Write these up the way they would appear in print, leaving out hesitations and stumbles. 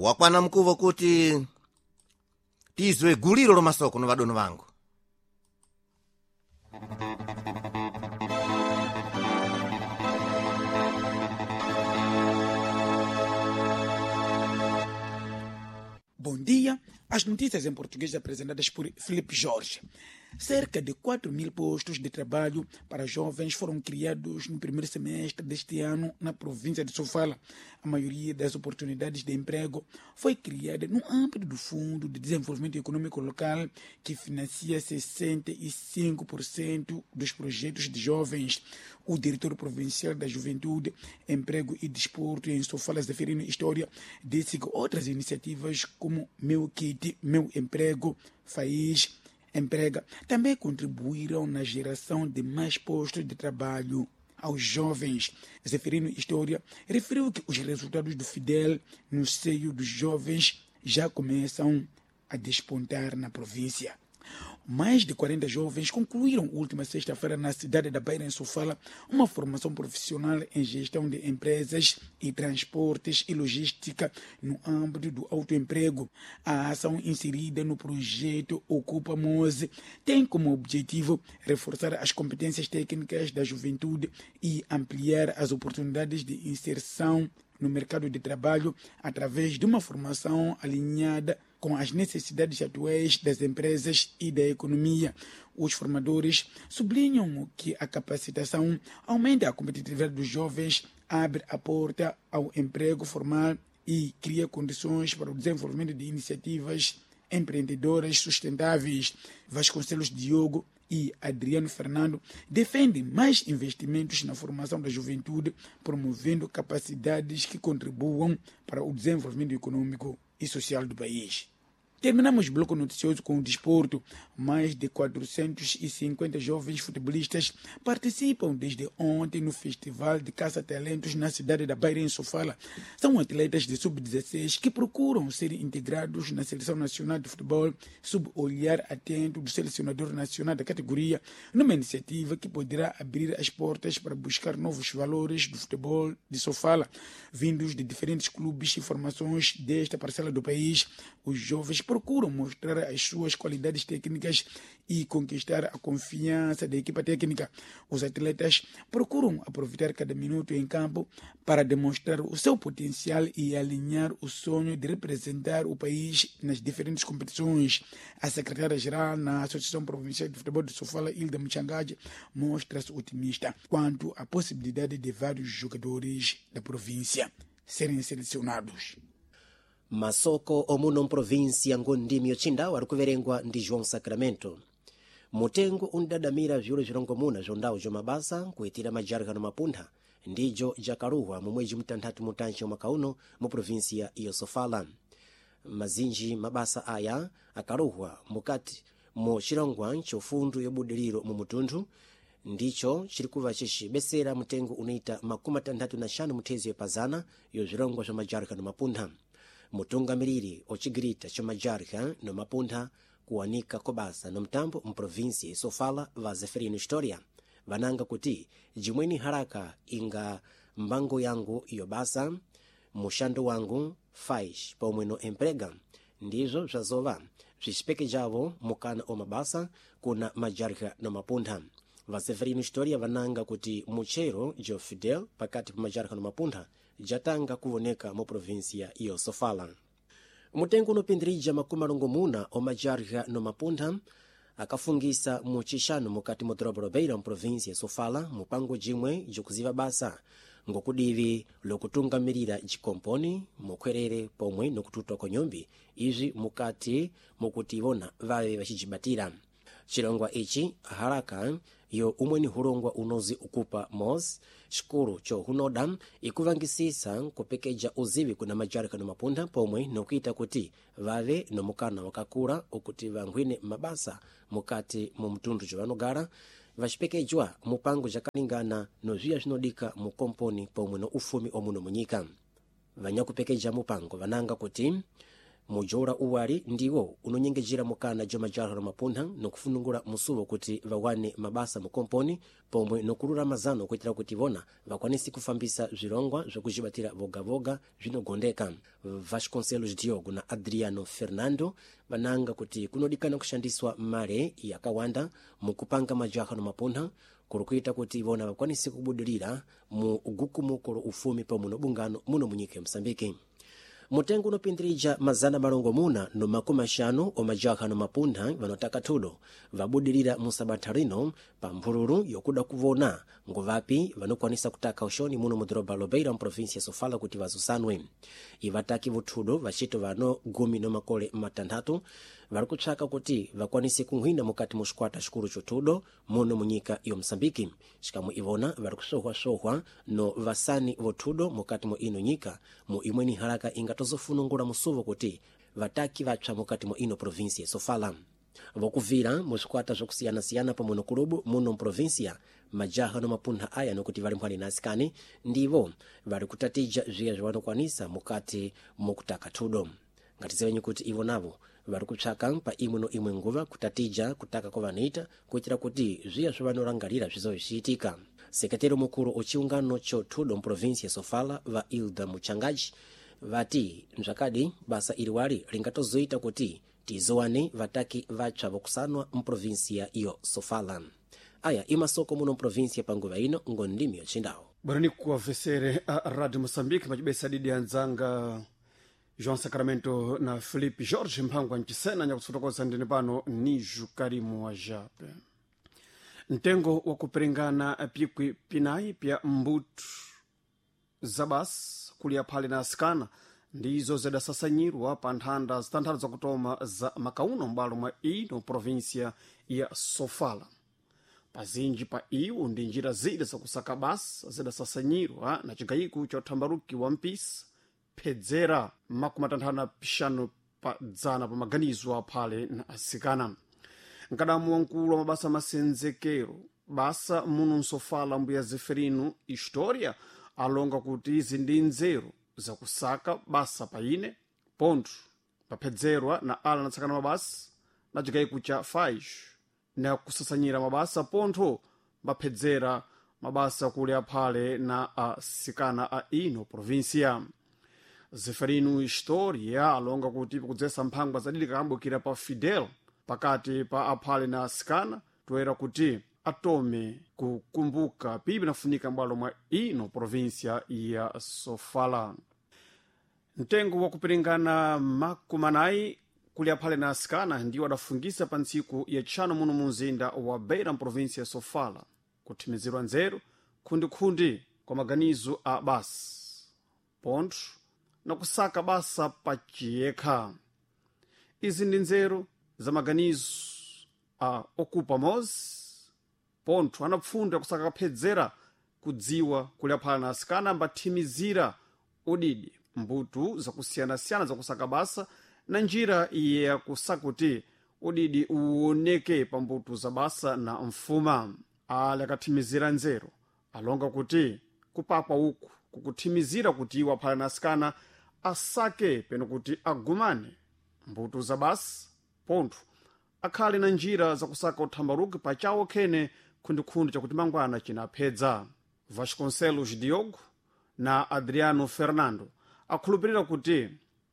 Wakwana mkuvo kuti tizwe guliro lomasoko no vadono vangu. Bom dia. As notícias em português apresentadas por Felipe Jorge. Cerca de 4 mil postos de trabalho para jovens foram criados no primeiro semestre deste ano na província de Sofala. A maioria das oportunidades de emprego foi criada no âmbito do Fundo de Desenvolvimento Econômico Local, que financia 65% dos projetos de jovens. O diretor provincial da Juventude, Emprego e Desporto em Sofala, Zeferino História, disse que outras iniciativas como Meu Kit, Meu Emprego, FAIS, Emprega, também contribuíram na geração de mais postos de trabalho aos jovens. Zeferino História referiu que os resultados do Fidel no seio dos jovens já começam a despontar na província. Mais de 40 jovens concluíram última sexta-feira na cidade da Beira, em Sofala, uma formação profissional em gestão de empresas e transportes e logística no âmbito do autoemprego. A ação inserida no projeto Ocupa Mose tem como objetivo reforçar as competências técnicas da juventude e ampliar as oportunidades de inserção no mercado de trabalho através de uma formação alinhada com as necessidades atuais das empresas e da economia. Os formadores sublinham que a capacitação aumenta a competitividade dos jovens, abre a porta ao emprego formal e cria condições para o desenvolvimento de iniciativas empreendedoras sustentáveis. Vasconcelos Diogo e Adriano Fernando defendem mais investimentos na formação da juventude, promovendo capacidades que contribuam para o desenvolvimento econômico e social do país. Terminamos o bloco noticioso com o desporto. Mais de 450 jovens futebolistas participam desde ontem no Festival de Caça Talentos na cidade da Beira, em Sofala. São atletas de sub-16 que procuram ser integrados na Seleção Nacional de Futebol sob olhar atento do selecionador nacional da categoria, numa iniciativa que poderá abrir as portas para buscar novos valores do futebol de Sofala. Vindos de diferentes clubes e formações desta parcela do país, os jovens procuram mostrar as suas qualidades técnicas e conquistar a confiança da equipa técnica. Os atletas procuram aproveitar cada minuto em campo para demonstrar o seu potencial e alinhar o sonho de representar o país nas diferentes competições. A secretária-geral na Associação Provincial de Futebol de Sofala, Hilda Mchangaje, mostra-se otimista quanto à possibilidade de vários jogadores da província serem selecionados. Masoko omuno mprovinsi ya Ngondimi yocindawo ari kuverengwa ndi João Sacramento. Mutengo undadamira vyulo vilongomuna zwa ndawu zwa mabasa kuitira majarika no mapuntha ndijo jakaluwa mu mwezi mtanthatu mutanji mwaka uno mu provinsia ya Sofala. Mazinji mabasa aya akaluhwa mukati mu chilongwa chofundu yobudiriro mu mutunthu ndicho chirikuva chicibesera mutengo unoita 65 muthezo yapazana yo zvilongwa zwa majarika no mapuntha. Mutungamiriri ocigirita ca majarika no mapuntha kuwanika kobasa no mtambo mprovinsi Sofala va Zeferino Historia vananga kuti jimweni haraka inga mbango yangu yobasa muxando wangu faz pomwe no emprega ndizvo zvazova zvicipekejavo mukana o mabasa kuna majarika no mapuntha. Va Zeferino Historia vananga kuti muchero jo Fidel pakati pa majarika no mapuntha jatanga kuvoneka mu provinsia ya Sofala. Mutengo unopindirija 60 omajarika no mapuntha akafungisa mu chixano mukati mu doroba la Beira mu provinsia ya Sofala mupango jimwe jokuziva basa ngokudivi lokutungamirira cikomponi mukhwerere pomwe nokututwa kwa nyumbi izvi mukati mukuti ivona vave vacijibatira. Chilongwa ichi haraka yo umweni hulongwa unozi ukupa mos xikulu cho hunoda ikuvangisisa kupekeja uzivi kuna majarika no mapuntha pomwe nokuita kuti vave nomukana wakakula ukuti vanghwine mabasa mukati mu mtundu jovanogara vacipekejwa mupango jakalingana no zviya zvinodika mu komponi pomwe no ufumi omuno munyika. Vanyakupekeja mupango vananga kuti Mujola uwali ndiwo unonyengejera mukana ja majaha na mapuntha nokufunungula musuwo kuti vawane mabasa mukomponi pomwe nokulula mazano kuitira kuti vona vakwanise kufambisa zvilongwa zvokujibatira vogavoga zvinogondeka. Vasconcelos Diogo na Adriano Fernando vananga kuti kunodikana kushandiswa mare yakawanda mukupanga majaha no mapuntha kuri kuita kuti ivona vakwanise kubudirira mu gukumuko lo ufumi pomwe no bungano muno munyika ya Msambiki. Mutengo unopindirija 650 omajaha no mapuntha vanotaka thudo vabudirira musabatha rino pa mphululu yokuda kuvona ngovapi vanokwanisa kutaka uxoni muno mu doroba Lobeira muprovinsia ya Sofala kuti vazusanwe. Ivataki vuthudo vacito vano 16 vari kupsaka kuti vakwanise kunghwina mukati mu xikwata xikulu xothudo muno munyika yo Msambiki. Xikamwe ivona vari kusohwasohwa no vasani vothudo mukati mu ino nyika mu imweni halaka ingatozofunungula musuvo kuti vataki vapsa mukati mu ino provinsia ya Sofala. Vokuvira mu swikwata zvokusiyana-siyana pamwe no kulubu muno mprovinsia majaha no mapuntha aya nokuti vali mphwani na asikani ndivo vari kutatija zviya zvavanokwanisa mukati mukutaka thudo. Ngatizivenyi kuti ivo navo vari kupsaka pa imwe no imwe nguva kutatija kutaka kwavanoita kuitira kuti zviya zvavanorangarira zvizove zvichiitika. Sekretero mukuru ochiungano cho thudo muprovinsia ya Sofala va Ilda Muchangaji vati mzvakadi basa iri wali ringatozoita kuti tizowane vataki vatsva vokusanwa muprovinsia iyo Sofala. Aya imasoko muno muprovinsia panguva ino ngondimi yochindawo. Bwerani kuwavesere a Radio Moçambique macibesa didi anzanga João Sacramento na Felipe Jorge mphangwa mcisena nyakufotokoza ndine pano Nijo Karimu wa Jape. Mtengo wa kuperingana pikwi pinayi pya mbutu za basi kuliya phale na asikana ndizo zidasasanyirwa pa nthanda zitanthatu zakutoma za makauno m'balo mwa ino provinsia ya Sofala. Pazinji pa iwo ndi njira zida zakusaka basa zidasasanyirwa na cigayiko cha uthambaruki wa mpisa phedzera 55 pa dzana pa maganizo aphale na asikana. Mkadamu wamkulu wa mabasa masenzekero basa muno nsofala mbuya Zeferino Historia alonga kuti izi ndi nzeru zakusaka basa paine pontho paphedzerwa na ala anatsakana mabasa na cigayiko cha faish na kusasanyira mabasa pontho mbaphedzera mabasa kuli aphale na asikana a ino provinsia. Zeferino Historia alonga kuti pakudzesa mphangwa zadidi kakambukira pa Fidel pakati pa aphale na asikana toera kuti atome kukumbuka pipi nafunika m'bwalo mwa ino provinsia ya Sofala. Mtengo wa kuperingana 40 kuli aphale na asikana ndiwo adafungisa pa ntsiku yatchano muno mu mzinda wa Beira mprovinsia ya Sofala kuthimizirwa nzeru khundikhundi kwa maganizo a basa pontho na kusaka basa paciyekha. Izi ndi nzeru za maganizo a okupa mozi pontho anapfunda kusaka kaphedzera kudziwa kuli aphala na asikana ambathimizira udidi mbutu zakusiyanasiyana zakusaka basa na njira yakusaka kuti udidi uwoneke pa mbutu za basa na mfuma. Ali akathimizira nzeru alonga kuti kupakwa uku kukuthimizira kuti iwo aphala na asikana asake peno kuti agumane mbutu za basa pontho akhale na njira zakusaka uthambaruki pachawo khene khundikhundi chakuti mangwana chinaphedza. Vasconcelos Diogo na Adriano Fernando akhulupirira kuti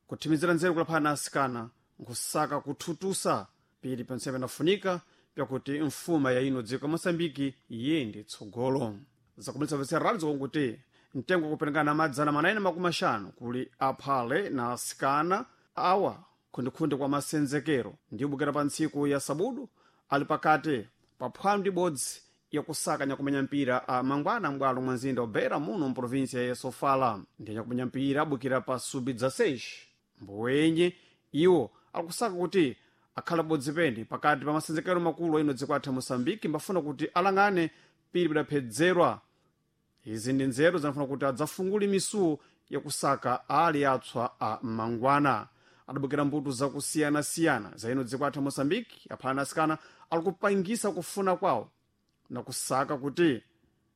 kuthimizira nzeru kulaphana na asikana nkusaka kuthutusa pili pensepe nafunika pyakuti mfuma ya ino dziko ya Moçambike iyende tsogolo. Zakumalitsa vese radio konkuti mtengo wakuperekana 450 kuli aphale na asikana awa khundikhundi kwa masenzekero ndiwobukira pa ntsiku ya sabudu ali pakati pa phwando ibodzi yakusaka nyakumenya mpira a mangwana m'bwalo mwa mzinda wa Beira muno mprovinsia ya Sofala. Ndi nyakumenya mpira abukira pa sub 16 mbowenye iwo akusaka kuti akhala bodzi pene pakati pa masenzekero makulu aino dziko athu Moçambique mbafuna kuti alang'ane pili pidaphedzerwa. Izi ndi nzeru zanafuna kuti adzafungule misuwo yakusaka ali atswa a mangwana. Adabukira mbuto zakusiyanasiyana za ino dziko athu Moçambique aphala na asikana ali kupangisa kufuna kwawo na kusaka kuti